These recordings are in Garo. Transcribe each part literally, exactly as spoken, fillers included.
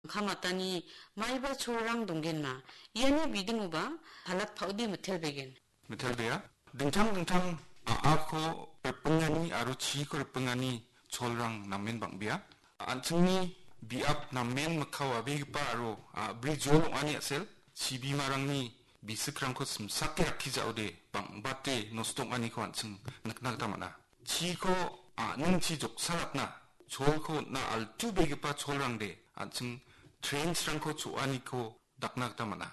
kam atani maiba cholrang donggenma. Iani bidingoba palat pa·ode mitelbegen. Mitelbea. Dingtang dingtang a·ako ripingani aro chiko ripingani cholrang namen bang·bea. An·chingni biap namen mikka wabegipa aro a·bri jol ong·ani a·sel, chibimarangni bisikrangko simsake rakkijaode bang·bate nosto ong·aniko an·ching nikna gita man·a. Chiko a·ningchi joksalatna, cholko on·na altubegipa cholrangde an·ching trench-rangko cho·aniko dakna gita man·a.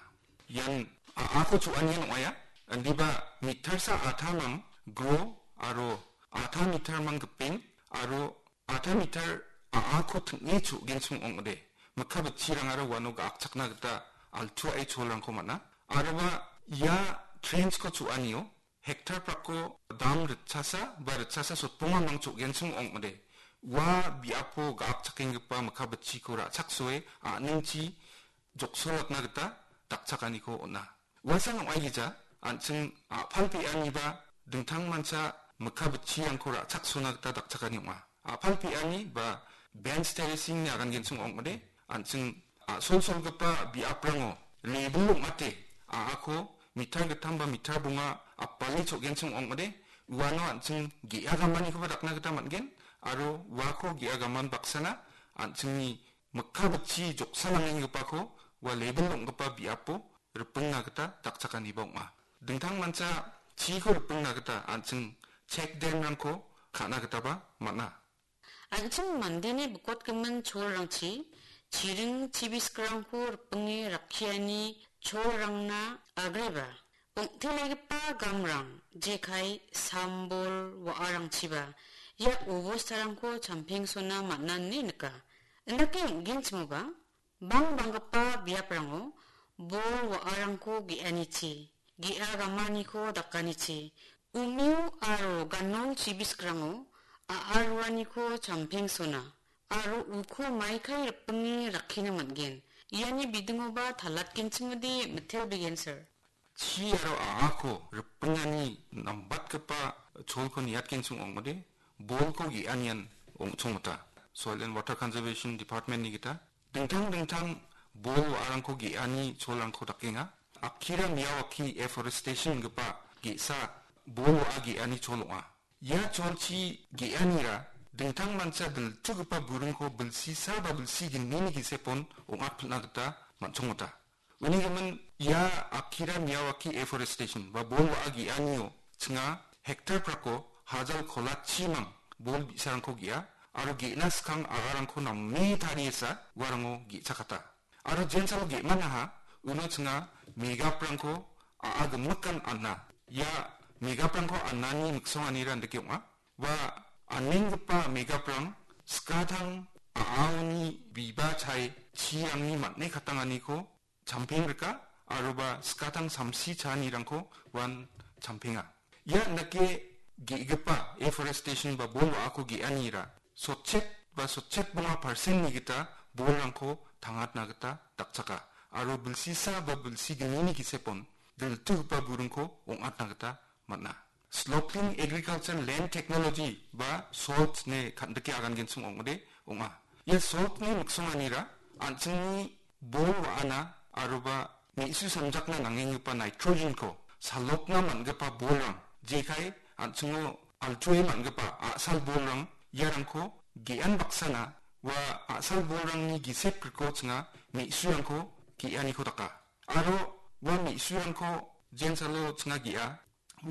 Ian a·ako cho·anian ong·aia. Indiba metersa atamang gro aro ata metermang gipin aro ata meter a·ako ting·e cho·genchim ong·ode. Mikka bitchirangara uano ga·akchakna gita altuae cholrangko man·a. Aroba ia trench-ko cho·anio hektar prako dam ritchasa ba ritchasa sotbonga mang cho·genchim ong·ode. Ua biapo ga·akchakenggipa mikka bitchiko ra·chaksoe a·ningchi joksolatna gita dakchakaniko on·a. Uasan ong·aigija, an·ching a·palpeaniba dingtangmancha mikka bitchirangko ra·chaksona gita dakchakani ong·a. A·palpeani ba bench terracing-ni agangenchim ong·ode, an·ching a·solsolgipa biaprango lebel ong·ate a·ako meter gittam ba meter bonga apale cho·genchim ong·ode, uano an·ching ge·a gamanikoba dakna gita man·gen, aro uako ge·a gaman baksana an·chingni mikka bitchi joksalangenggipako ua lebel ong·gipa biapo ripingna gita dakchakaniba ong·a. Dingtangmancha chiko ripingna gita an·ching check dam-rangko ka·na gitaba man·a. An·ching mandeni bikotgimin cholrangchi chiring chibiskrangko ripinge rakkiani cholrangna agreba ong·telegipa gamrang, jekai, sambol, wa·arangchiba ia obostarangko champengsona man·a ine nika. Indake ong·genchimoba, bangbanggipa biaprango bol wa·arangko ge·anichi, ge·a gamaniko dakanichi, umeo aro ganol chibisgrango a·aruaniko champengsona aro uko maikai ripinge rakkina man·gen. Iani bidingoba talatgenchimode mitelbegensir. Chi aro a·ako ripingani nambatgipa cholko niatgenchim ong·ode, bolko ge·anian ong·chongmota. Soil and Water Conservation Department-ni gita dingtang dingtang bol wa·arangko ge·ani cholrangko dakenga. Akira Miyawaki Afforestation gipa ge·sa bol wa·a ge·ani chol ong·a. Ia cholchi ge·anira dingtangmancha diltugipa buringko bilsisa ba bilsi gnini gisepon ong·atpilna gita man·chongmota. Uni gimin ia Akira Miyawaki Afforestation ba bol wa·a ge·anio chinga hektar prako hajal kolatchimang bol bi·sarangko ge·a aro ge·na skang agarangko name tariesa uarango ge·chakata. Aro jensalo ge·manaha uno chinga megaprangko a·a gimikan ana. Ia megaprangko anani miksonganira indake ong·a. Ua anenggipa megaprang skatang a·aoni biba chae chirangni man·e katanganiko champeng rika, aroba skatang samsi chaanirangko uan champenga. Ia indake ge·gipa afforestation ba bol wa·ako ge·anira sotchet ba sotchet bonga percent-ni gita bolrangko tangatna gita dakchaka, aro bilsisa ba bilsi gnini gisepon diltugipa buringko ong·atna gita man·a. Sloping Agriculture Land Technology ba SALT ine kan·dike agangenchim ong·ode ong·a. Ia SALT-ni miksonganira an·chingni bol wa·ana aroba me·su samjakna nangenggipa nitrogen-ko salokna man·gipa bolrang, jekai an·chingo altuae man·gipa a·sal bolrang, iarangko ge·an baksana ua a·sal bolrangni gisep griko chinga me·surangko ge·aniko daka. Aro ua me·surangko jensalo chinga ge·a.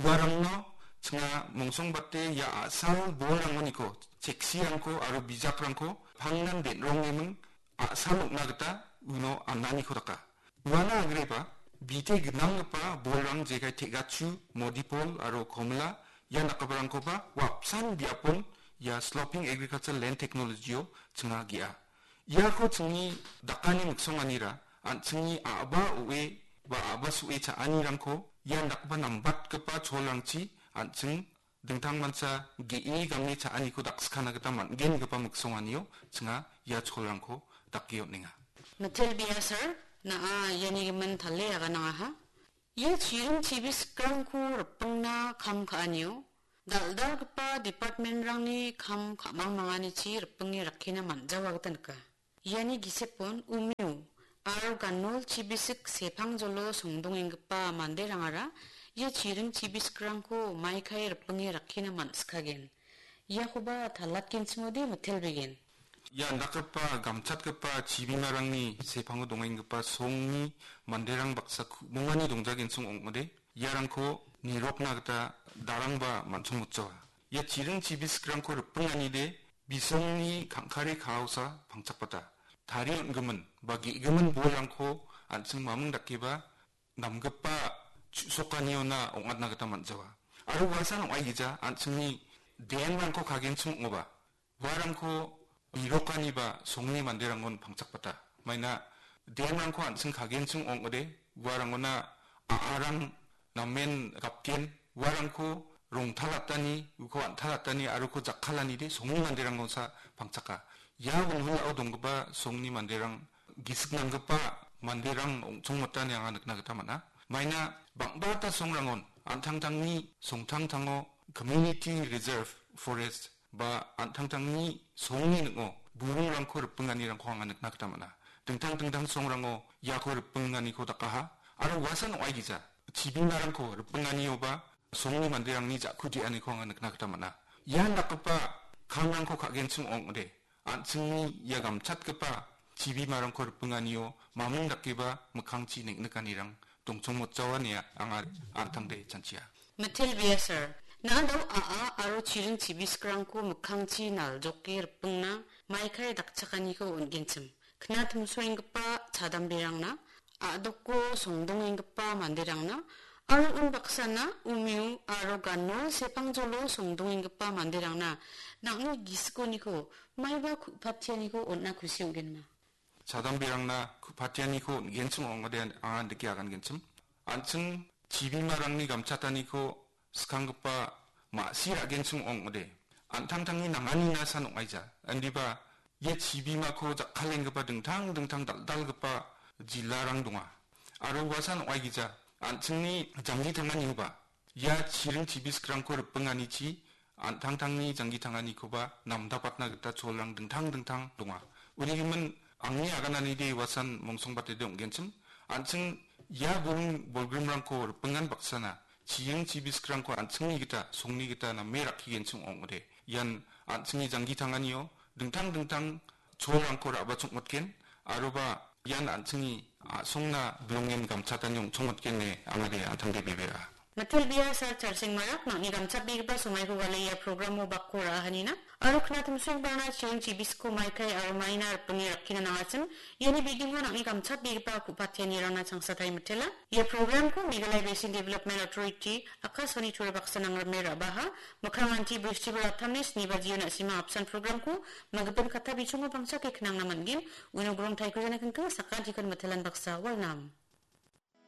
Uarangno chinga mongsongbate ia a·sal bolrangoniko, cheksirangko aro bijakrangko pangnan den·rongeming a·sal ong·na gita uno ananiko daka. Uana agreba bite gnanggipa bolrang jekai Tegachu, Modipol aro Komila ia dakgiparangkoba ua apsan biapon ia Sloping Agriculture Land Technology-o chinga ge·a. Iako chingni dakani miksonganira an·chingni a·ba o·e ba a·ba so·e cha·anirangko ian dakgipa nambatgipa cholrangchi an·ching dingtangmancha ge·e game cha·aniko dakskana gita man·gengipa miksonganio chinga ia cholrangko dake on·enga. Mitelbea sir, na·a iani gimin tale aganangaha. Ia chiring chibiskrangko ripingna kam ka·anio dal·dalgipa department-rangni kam ka·mangmanganichi ripinge rakkina man·jawa gita nika. Iani gisepon umio aro ganol chibisik sepangjolo songdongenggipa manderangara ia chiring chibisikrangko maikae ripinge rakkina man·sikagen. Iakoba talatgenchimode mitelbegen. Ia indakgipa gamchatgipa chibimarangni sepango dongenggipa songni manderang baksa ku·mongani dongjagenchim ong·ode, iarangko nirokna gita darangba man·songmotjawa. Ia chiring chibisikrangko ripinganide bisongni kangkare kaosa pangchakbata. Tarie on·gimin ba ge·gimin bolrangko an·ching maming dakeba namgipa chu·sokaniona ong·atna gita man·jawa. Aro uasan ong·aigija an·chingni dam-rangko kagenchim ong·oba, uarangko nirokaniba songni manderangon pangchakbata. Maina dam-rangko an·ching kagenchim ong·ode, uarangona a·arang namen gapgen, uarangko rongtalatani, uko an·talatani, aro uko jakkalanide songni manderangosa pangchaka. Ia wilwilao donggipa songni manderang gisik nanggipa manderang ong·chongmotani anga nikna gita man·a. Maina bang·bata songrangon an·tangtangni songtangtango community reserve forest ba an·tangtangni songni ning·o buringrangko ripinganirangko anga nikna gita man·a. Dingtang dingtang songrango iako ripinganiko dakaha aro uasan ong·aigija chibimarangko ripinganioba songni manderangni ja·ku de·aniko anga nikna gita man·a. Ian dakgipa kamrangko ka·genchim ong·ode, an·chingni ia gamchatgipa chibimarangko ripinganio maming dakeba mikkangchi neng·nikanirang dongchongmotjawa ine anga an·tangde chanchia. Mitel Biasar, na·ado a·a aro chiring chibiskrangko mikkangchi naljoke ripingna maikae dakchakaniko on·genchim. Knatimsoenggipa chadamberangna a·doko songdongenggipa manderangna aro unbaksana umio aro ganol sepangjolo songdongenggipa manderangna nang·ni gisikoniko maiba ku·patianiko on·a kusi ong·genma. Chadamberangna ku·patianiko on·genchim ong·ode anga dike agangenchim. An·ching chibimarangni gamchataniko skanggipa ma·si ra·genchim ong·ode. An·tangtangni nanganina san ong·aija. Indiba ia chibimako jakkalenggipa dingtang dingtang dal·dalgipa jilarang donga. Aro uasan ong·aigija, an·chingni janggi tanganioba ia chiring chibiskrangko ripinganichi an·tangtangni janggi tanganikoba namdapatna gita cholrang dingtang dingtang donga. Unigimin angni agananide uasan mongsongbatede ong·genchim. An·ching ia buring bolgrimrangko ripingan baksana chiring chibiskrangko an·chingni gita, songni gita name rakkigenchim ong·ode. Ian an·chingni janggi tanganio dingtang dingtang cholrangko ra·bachongmotgen, aroba ian an·chingni a·songna bilongen gamchatani ong·chongmotgen ine angade an·tangde bebera. Mitel Biasar Charsengmarak nang·ni gamchatbegipa somaiko gale ia programo bakko ra·ahanina. Aro knatimsoengbarangna chiring chibisko maikai aro maina ripinge rakkina nangachim. Iani bidingo nang·ni gamchatbegipa ku·patianirangna changsatai mitela. Ia programko Meghalaya Basin Development Authority, Akashvani Tura baksa nangrime ra·baha, mikkanganti Bristibar atamni sni bajio na·simang apsan programko, magipin katta bichongo bangchake knangna man·gen, uno Grong Taikujana kengkeng sakantikon mitelan baksa walnam.